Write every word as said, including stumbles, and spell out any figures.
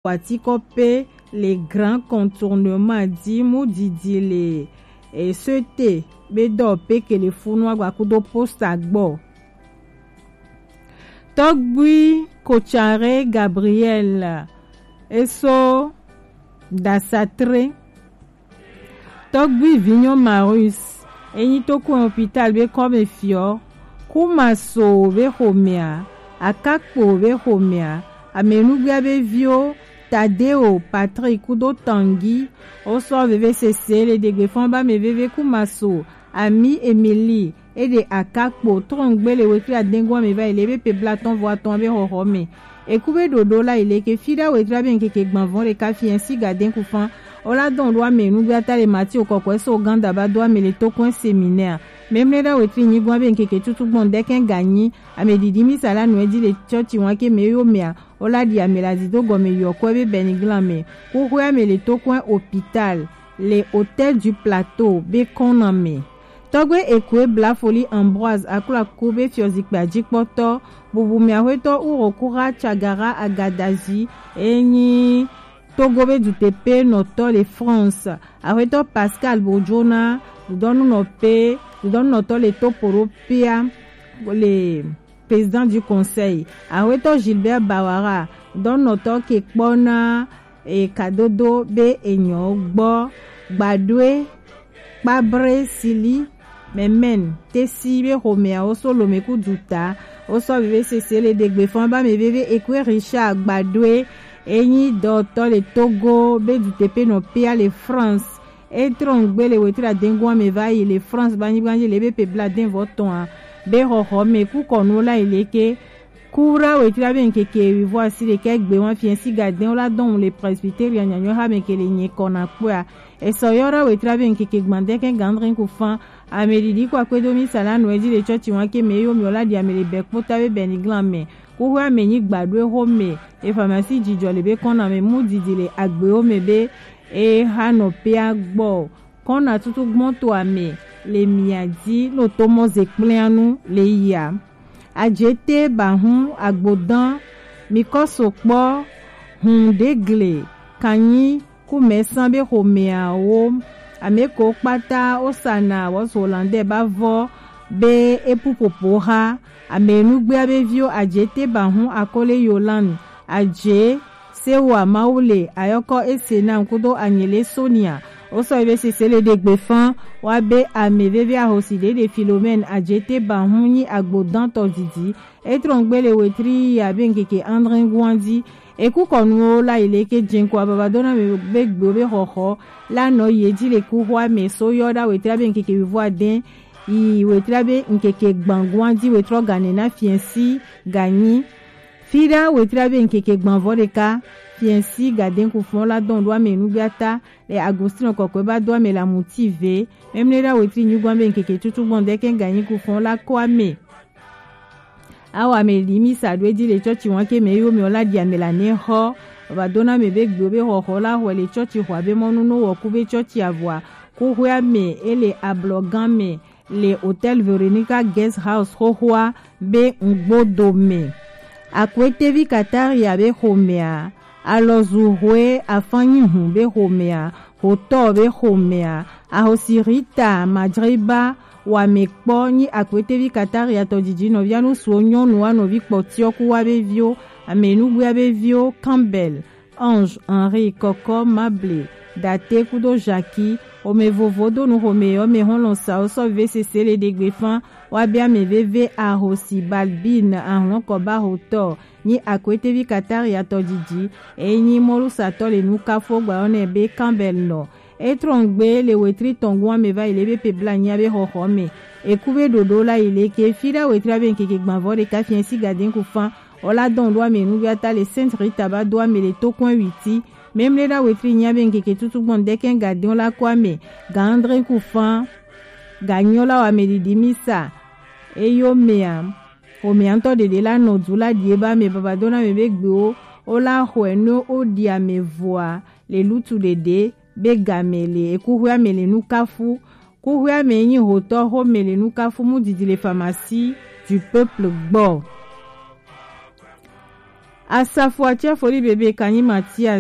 Watikɔ pe le Grand Contournement di mu didi le e, sete be dɔ pe ke le funu agba kudo posta gbɔ. Tɔgbui Kotsare Gabriel eso dasatre. Tɔgbui Vinyo Marius enyi to ko hôpital be kɔme fiɔ. Kumaso be xomea, Akakpo be xomea, amenugbia be viwo, Tadeo, Patrick kudo Tangi, wosɔ veve sese le degbe fɔn ba me veve Kumaso, Ami Emily, e ɖe Akakpo trɔngbe le wetri adengo ame va yi le be pe blatɔn vɔ atɔn be xɔxɔ me. Eku be ɖoɖo la yi le ke fi ɖa wetri abe nkeke gbanvɔn ɖeka fiɛ si gaden kufan. Ola dɔn ɖo ame nugbe ata le Matthew kɔkɔɛ so Uganda ba do ame le tokɔn séminaire. Memle ɖa wetri nyigbɔn abe nkeke tutu gbɔn dɛkɛn ganyi. Ame ɖiɖi misa la nɔɛ di le tsɔtsi wan ke me yo mea. Ola ɖi ame la zido gɔme yɔkɔɛ be bɛniglan me. Kuxɔɛ ame le tokɔn hôpital le Hôtel du Plateau be kɔn na me. Tɔgbe Ekue Blafoli Ambroise Aklaku be fiɔzikpui ajikpɔtɔ, bubu mɛ axwetɔ Urokura Tsagara Agadazi, enyi Togo be dutepe nɔtɔ le France, axwetɔ Pascal Bojona, dudɔnunɔpe, dudɔnunɔtɔ le Toporo Pia, le président du conseil, axwetɔ Gilbert Bawara, dudɔnunɔtɔ ke kpɔ na e kadodo be enyɔ gbɔ. Gbadoe kpabre sili mɛmɛn tesi be xomea wo so lome ku duta. Wo sɔ veve sese le degbe fɔn ba me veve Ekue Richard Gbadoe, enyi dɔtɔ le Togo be dutepe nɔ pea le France. E trɔngbe le wetri adengo ame va yi le France ba nyigba ji le be pe bla den vɔ tɔn a be xɔxɔ me ku kɔnu la yi le ke. Kura wetri abe nkeke wivɔ asi ɖekɛ gbe wan fiɛ si gaden wo la dɔn le Presbyteria nyanyɔ ha me ke le nye kɔ na kpɔa. Esɔ yɔ ɖa wetri abe nkeke gbandɛ kɛ gandrin ku fan. Ame ɖiɖi kɔ akpedo misa la nɔ edzi le tsɔtsi wan ke me yo mi o la ɖi ame le bɛ kpota be bɛniglan me. Kuxu ame nyi gbaɖoe xo me. Efamasi dzidzɔ le be kɔn na me mu didi le agbewo me be e ha nɔ pea gbɔ. Kɔn na tutu gbɔn to ame le mia dzi no to mɔ ze kplianu le yia. Ajete ba hun agbodan mi kɔ so kpɔ hun ɖe gle kanyi ku mɛsan be xomɛawo. Ame ko kpata wosana wɔs Hollandais ba vɔ be epu popo ha. Ame nugbea be viwo Ajete ba hun akole Yolande Aje Sewa Mawule Ayɔkɔ Esenam kudo Anyele Sonia. Wosɔ ebe sese le ɖegbe fan wa be ame veve ahosi ɖeɖe Philomène Ajete ba hun nyi agbodantɔ didi. Etrɔngbe le wetri ya be nkeke andre guandi. Eku kɔnuwo la yi le ke jenko ababa dona me be gbewo be xɔxɔ la nɔ ye dzi le kuxɔa me so yɔ ɖa wetri abe nkeke wivɔ aden yi wetri abe nkeke gbanguandi wetrɔ gane na fiɛsi ganyi. Fi ɖa wetri abe nkeke gbanvɔ ɖeka fiɛsi gaden kufɔn la dɔn ɖo ame nugbea ta le Agostino kɔkɔe ba do ame la muti ve. Memle ɖa wetri nyugbɔn be nkeke tutu gbɔn dɛkɛ ganyi kufɔn la kɔ ame. Awa me li mi sa ɖo edzi le tsɔtsi wan ke me yo me o la ɖi ame la ne xɔ. Baba dona me be gbewo be xɔxɔ la xɔe le tsɔtsi xɔa be mɔnu no wɔ ku be tsɔtsi avɔa. Kuxɔa me ele ablɔgan me le Hotel Veronica Guest House xoxoa be ŋgbodo me. Akwete vi Kataria be xomea, alɔzu hoe afanyi hun be xomea, hotɔ be xomea, ahosi Rita Madriba wa me kpɔ nyi Akwete vi Kataria tɔ didi nɔvia nu suo nyɔnu wa nɔvi kpɔtiɔ ku wa be viwo, ame nugbea be viwo, Campbell, Ange, Henri, Kɔkɔ, Mable, Date kudo Jackie. Xome vovo do nu xome yɔ me hɔn lɔn sa wo sɔ ve sese le ɖegbe fan wa be ame veve ahosi Balbine ahlɔn kɔ ba hotɔ nyi Akwete vi Kataria tɔ didi. Enyi mɔlusatɔ le nu kafo gba yɔ nɛ be Campbell nɔ. Etrɔngbe le wetri tɔngun ame va yi le be pe bla nyia be xɔxɔ me. Eku be ɖoɖo la yi le ke fi ɖa wetri abe nkeke gbanvɔ ɖeka fiɛ si gaden ku fan. Ola dɔn ɖo ame nugbea ta le Sainte Rita ba do ame le tokɔn witi. Memle ɖa wetri nyia be nkeke tutu gbɔn dɛkɛ gaden la kɔ ame. Ga andre ku fan. Ga nyɔ la wa ame ɖiɖi misa. Eyo mea. Xomea ŋutɔ ɖeɖe la nɔ du la ɖie ba ame baba dona me be gbewo. Ola xɔe no o ɖi ame voa le lutu ɖeɖe be game le ekuxɔe ame le nukafu. Kuxɔe ame nyi hotɔ xome le nukafu mu didi le pharmacie du peuple gbɔ. Asafo Atia Foli Bebe Kanyi Mathias.